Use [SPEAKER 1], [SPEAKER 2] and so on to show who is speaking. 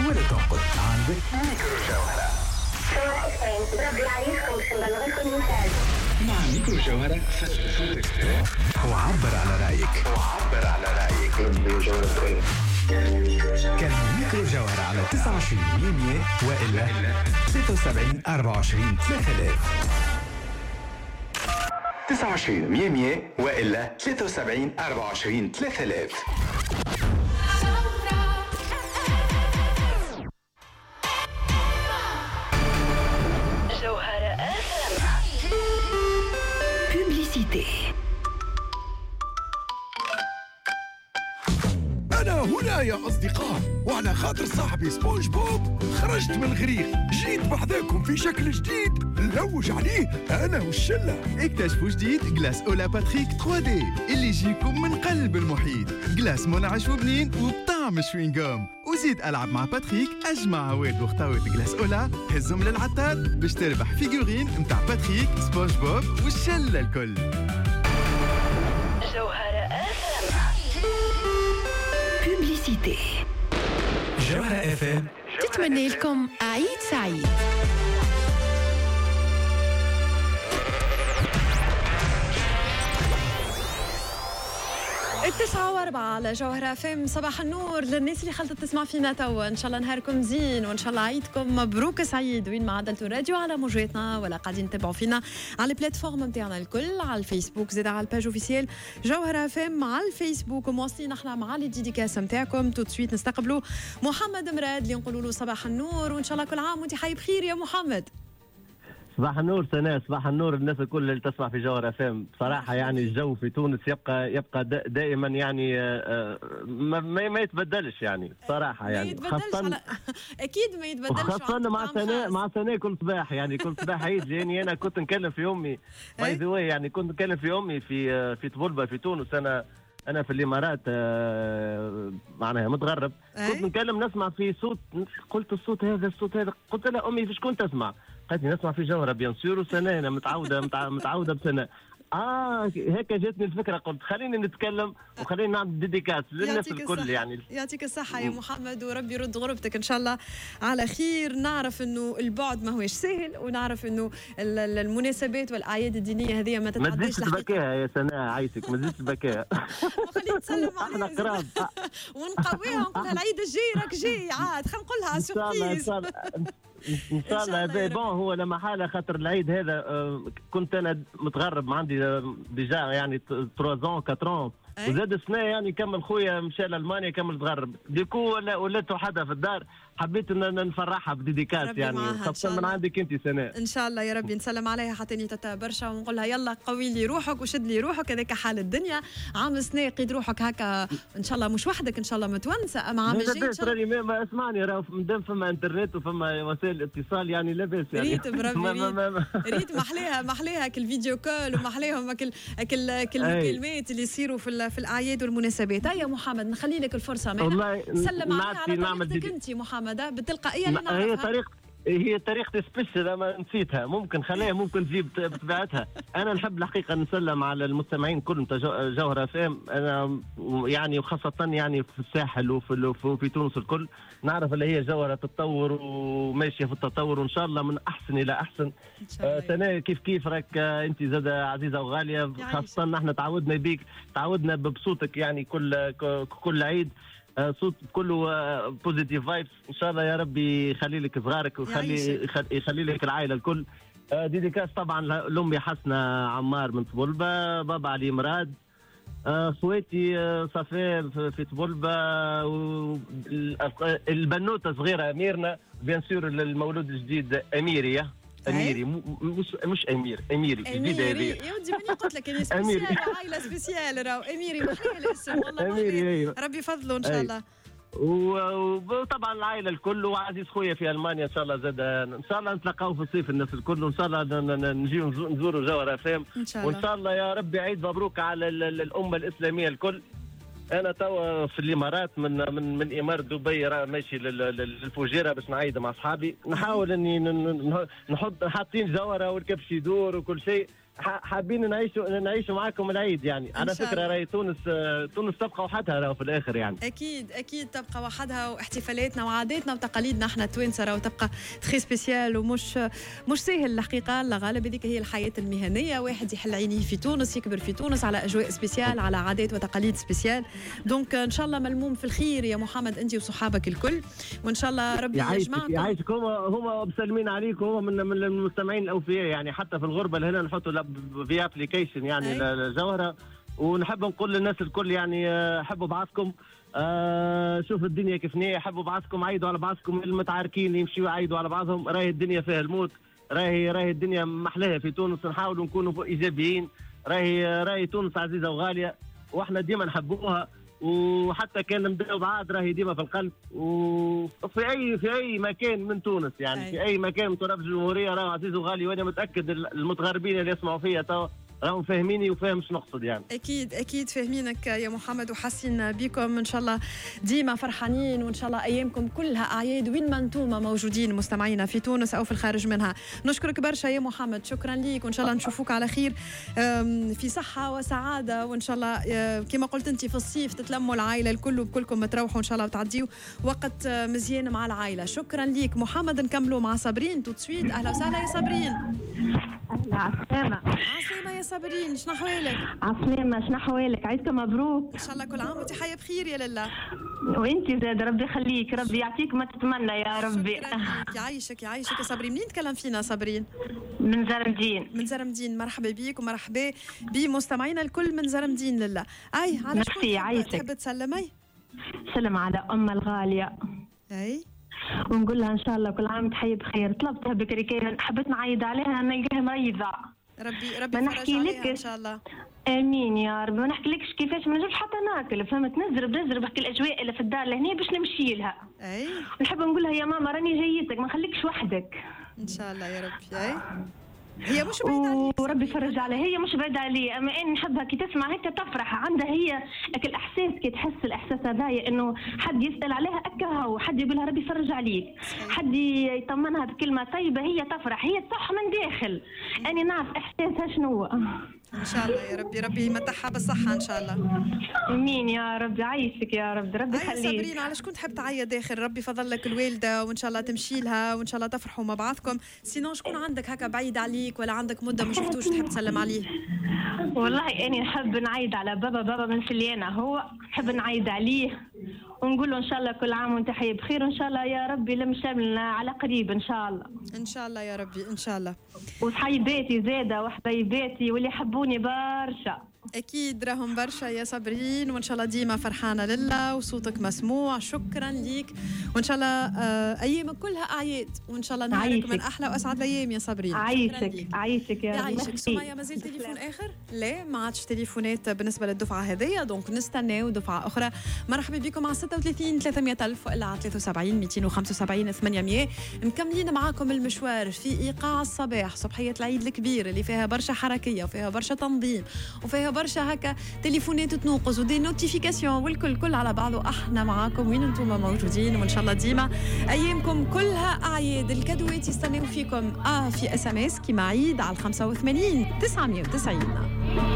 [SPEAKER 1] ولا تنقد، عندك ميكرو جوهرة. مع ميكرو جوهرة فسر صوتك وعبر على رأيك. وعبر على رأيك. كان ميكرو جوهرة على 29 100 وإلا 73 24 3000. 29 100 وإلا 73 24 3000.
[SPEAKER 2] جوهرة FM. Publicité.
[SPEAKER 3] أنا هنا يا أصدقاء، وعلى خاطر صاحبي سبونج بوب خرجت من الغريق، جيت بحذاكم في شكل جديد نلوج عليه أنا والشلة.
[SPEAKER 4] اكتشفوا جديد glace أولا باتريك 3D اللي يجيكم من قلب المحيط، glace منعش وبنين وبطعم chewing-gum. وزيد ألعب مع باتريك، أجمع عواد وخطاوات glace أولا، هزهم للعطار باش تربح figurine متاع باتريك سبونج بوب والشلة الكل.
[SPEAKER 2] جوهرة FM. Publicité.
[SPEAKER 1] جوهرة FM
[SPEAKER 5] تتمنى لكم عيد سعيد.
[SPEAKER 6] 9:04 على جوهرة FM. صباح النور للناس اللي خلطت تسمع فينا توا، ان شاء الله نهاركم زين وان شاء الله عيدكم مبروك سعيد وين ما عدلتوا الراديو على موجاتنا ولا قاعدين تتابعوا فينا على ال plateformes نتاعنا الكل، على الفيسبوك زاد على ال page officielle جوهرة FM على الفيسبوك. ومواصلين احنا مع les dédicaces نتاعكم. tout de suite نستقبلوا محمد مراد اللي نقولوا له صباح النور وان شاء الله كل عام وانت حي بخير يا محمد.
[SPEAKER 7] صباح النور سناء، صباح النور الناس الكل اللي تسمع في جوهرة FM. بصراحة يعني الجو في تونس يبقى دائما يعني ما يتبدلش يعني بصراحة، يعني
[SPEAKER 6] خاصة اكيد ما يتبدلش،
[SPEAKER 7] خاصة مع سناء، مع سناء كل صباح يعني كل صباح عيد. لاني انا كنت نكلم في امي by the way، يعني كنت نكلم في امي في طبلبة في تونس، انا في الامارات معناها متغرب. كنت نكلم نسمع في صوت، قلت الصوت هذا الصوت هذا، قلت لها امي في شكون تسمع؟ قالت لي نسمع في جوهرة bien sûr وسناء، انا متعوده بسناء. هيك جاتني الفكرة، قلت خليني نتكلم وخليني نعمل dédicace للناس الكل يعني.
[SPEAKER 6] يعطيك الصحة يا محمد وربي يرد غربتك ان شاء الله على خير. نعرف انه البعد ما هوش سهل، ونعرف انه المناسبات والاعياد الدينية هذه ما تتعداش.
[SPEAKER 7] ما تزيدش تبكيها يا سناء، عايشك ما تزيدش تبكيها.
[SPEAKER 6] وخليني نسلم عليها،
[SPEAKER 7] احنا قراب
[SPEAKER 6] ونقويها ونقولها العيد الجاي راك جاي عاد، خلينا نقولها surprise
[SPEAKER 7] ان شاء الله. bon هو لما حاله خاطر العيد هذا كنت انا متغرب، ما عندي déjà يعني 3 ans 4 ans، وزاد السنة يعني كمل خويا مشى لالمانيا كمل تغرب، du coup ولات وحدها في الدار، حبيت ان نفرحها ب dédicace يعني خاصة من عندك انت سناء.
[SPEAKER 6] ان شاء الله يا ربي نسلم عليها حتى تتا برشا ونقول لها يلا قوي لي روحك وشد لي روحك، هذاك حال الدنيا. عام السنة قيد روحك هكا ان شاء الله مش وحدك، ان شاء الله متونسه، اما عام الجاي ان شاء
[SPEAKER 7] الله. ما اسمعني، راه مادام فما انترنت وفما وسائل اتصال يعني لاباس يعني.
[SPEAKER 6] ريت بربي ريت محليها محليها كل video call ومحليهم كل المكالمات اللي يصيروا في الاعياد والمناسبات. يا محمد نخلي لك الفرصة، سلم عليها على طريقتك انت محمد بالتلقائيه اللي نعرفها.
[SPEAKER 7] هي طريقتي spéciale ما نسيتها، ممكن خليها ممكن تجيب بطبيعتها. انا نحب الحقيقة نسلم على المستمعين كلهم تاع جوهرة FM، انا يعني وخاصة يعني في الساحل وفي تونس الكل، نعرف اللي هي جوهره تتطور وماشية في التطور وان شاء الله من احسن الى احسن. سناء كيف كيف راك انت زاد عزيزه وغاليه، خاصة نحن تعودنا بيك، تعودنا بصوتك يعني كل عيد صوت كله positive vibes. ان شاء الله يا ربي يخلي لك صغارك ويخلي يخلي لك العائلة الكل. dédicace طبعا لامي حسنه عمار من طبلبه، بابا علي مراد، خواتي صفاء في طبلبه، البنوته صغيرة اميرنا، bien sûr المولود الجديد اميري، اميري مش امير، اميري جديد هذه
[SPEAKER 6] يا ودي ماني قلت لك انا spécial، عائلة spéciale راهو اميري محلاه الاسم والله
[SPEAKER 7] اميري. أيوة.
[SPEAKER 6] ربي يفضله ان شاء الله.
[SPEAKER 7] وطبعا العائلة الكل، وعزيز خويا في المانيا ان شاء الله زاد ان شاء الله نتلاقاو في الصيف الناس الكل، وان شاء الله نجيو نزوروا جوهرة FM، وان شاء الله يا ربي عيد مبروك على الامة الاسلامية الكل. انا توا في الامارات من من من اماره دبي راه ماشي للفجيره باش نعيد مع اصحابي، نحاول اني نحط حاطين جوهره والكبش يدور وكل شيء. حابين نعيشوا معاكم العيد يعني. على فكرة راهي تونس تبقى وحدها راهو في الاخر يعني.
[SPEAKER 6] اكيد اكيد تبقى وحدها، واحتفالاتنا وعاداتنا وتقاليدنا احنا التوانسة راهو تبقى très spéciale ومش مش ساهل الحقيقة. الغالب هذيك هي الحياة المهنية، واحد يحل عينيه في تونس، يكبر في تونس على اجواء spéciales، على عادات وتقاليد spéciales. donc ان شاء الله ملموم في الخير يا محمد انت وصحابك الكل، وان شاء الله ربي يجمعكم.
[SPEAKER 7] يعيشك. هما مسلمين عليك، وهما من المستمعين الاوفياء يعني، حتى في الغربة لهنا نحطوا في application يعني الجوهرة. ونحب نقول للناس الكل يعني حبوا بعضكم، شوف الدنيا كيف نية، حبوا بعضكم، عيدوا على بعضكم، المتعاركين يمشيوا يعيدوا على بعضهم، راهي الدنيا فيها الموت، راهي الدنيا محلاها في تونس، نحاولوا نكونوا ايجابيين، راهي تونس عزيزه وغاليه واحنا ديما نحبوها، وحتى كان نبداو بعاد راهي ديما في القلب، وفي اي مكان من تونس يعني. في اي مكان من تراب الجمهورية راهو عزيز وغالي، وانا متاكد المتغربين اللي يسمعوا فيا توا راهم فاهميني وفاهم شنو نقصد يعني.
[SPEAKER 6] اكيد اكيد فاهمينك يا محمد وحاسين بكم. ان شاء الله ديما فرحانين، وان شاء الله ايامكم كلها اعياد وين ما انتم موجودين مستمعينا في تونس او في الخارج منها. نشكرك برشا يا محمد، شكرا ليك، وان شاء الله نشوفوك على خير في صحة وسعادة، وان شاء الله كما قلت انت في الصيف تتلموا العائلة الكل وبكلكم تروحوا ان شاء الله وتعديوا وقت مزيان مع العائلة. شكرا ليك محمد. نكملوا مع صابرين tout de suite. اهلا وسهلا يا صابرين.
[SPEAKER 8] اهلا، عسلامة.
[SPEAKER 6] عسلامة يا صابرين، شنو احوالك؟
[SPEAKER 8] عسلامة، شنو احوالك؟ عيدكم مبروك.
[SPEAKER 6] ان شاء الله كل عام وانت حيه بخير يا لاله.
[SPEAKER 8] وانت زاد، ربي يخليك، ربي يعطيك ما تتمنى يا ربي.
[SPEAKER 6] يعيشك يعيشك يا صابرين. منين تكلم فينا صابرين؟
[SPEAKER 8] من زرمدين.
[SPEAKER 6] من زرمدين، مرحبا بيك ومرحبا بمستمعينا الكل من زرمدين. لاله اي على شكون تحب تسلمي؟
[SPEAKER 8] سلم على ام الغالية.
[SPEAKER 6] اي
[SPEAKER 8] ونقول لها ان شاء الله كل عام تحيي بخير. طلبتها بكري كان حبيت نعيد عليها نلقاها مريضه.
[SPEAKER 6] ربي ما نحكي لك ان شاء الله.
[SPEAKER 8] امين يا رب. ما نحكيلكش كيفاش ما نجمش حتى ناكل، فهمت؟ نزرب بحكي الاجواء اللي في الدار لهنا باش نمشي لها.
[SPEAKER 6] اي
[SPEAKER 8] نحب نقول لها يا ماما راني جايتك، ما نخليكش وحدك.
[SPEAKER 6] ان شاء الله يا ربي. اي هي مش بعيدة عليك،
[SPEAKER 8] وربي يفرج عليها. هي مش بعيدة علي، اما انا نحبها كي تسمع هكا تفرح، عندها هي الاحساس، كي تحس الاحساس هذايا انه حد يسال عليها اكاها، وحد يقول لها ربي يفرج عليك، حد يطمنها بكلمة طيبة، هي تفرح، هي تصح من داخل. انا نعرف احساسها شنو.
[SPEAKER 6] ان شاء الله يا ربي، ربي يمتعها بالصحة ان شاء الله.
[SPEAKER 8] امين يا رب. عايشك يا رب، ربي يخليك.
[SPEAKER 6] صابرين، على شكون تحب تعيط داخل؟ ربي فضل لك الوالدة وان شاء الله تمشي لها وان شاء الله تفرحوا مع بعضكم. sinon شكون عندك هكا بعيد عليك ولا عندك مدة ما شفتوش تحب تسلم عليه؟
[SPEAKER 8] والله اني نحب نعيد على بابا من سليانة، هو نحب نعيد عليه ونقول له ان شاء الله كل عام وانت حي بخير، وان شاء الله يا ربي لم شملنا على قريب ان شاء الله.
[SPEAKER 6] ان شاء الله يا ربي، ان شاء الله.
[SPEAKER 8] وصحيباتي زاده وحبايباتي واللي حبوني برشا.
[SPEAKER 6] اكيد راهم برشا يا صابرين، وان شاء الله ديما فرحانة لله وصوتك مسموع. شكرا ليك، وان شاء الله ايامك كلها اعياد، وان شاء الله نهارك من احلى واسعد الايام يا صابرين.
[SPEAKER 8] عايشك عايشك يا رب.
[SPEAKER 6] يعيشك. سمية، مازال تليفون اخر؟ لا، ما عادش تليفونات بالنسبة للدفعه هذيا، donc نستناو دفعه اخرى. مرحبا بكم على 36 300 الف والا على 73 275 800. مكملين معاكم المشوار في ايقاع الصباح، صبحيه العيد الكبير اللي فيها برشا حركية وفيها برشا تنظيم وفيها برشا هكا تليفونات تنوقز و des notifications والكل كل على بعضه. احنا معاكم وين انتم موجودين، وان شاء الله ديما ايامكم كلها اعياد. الكادوات يستناو فيكم في SMS كيما عيد على 85 990.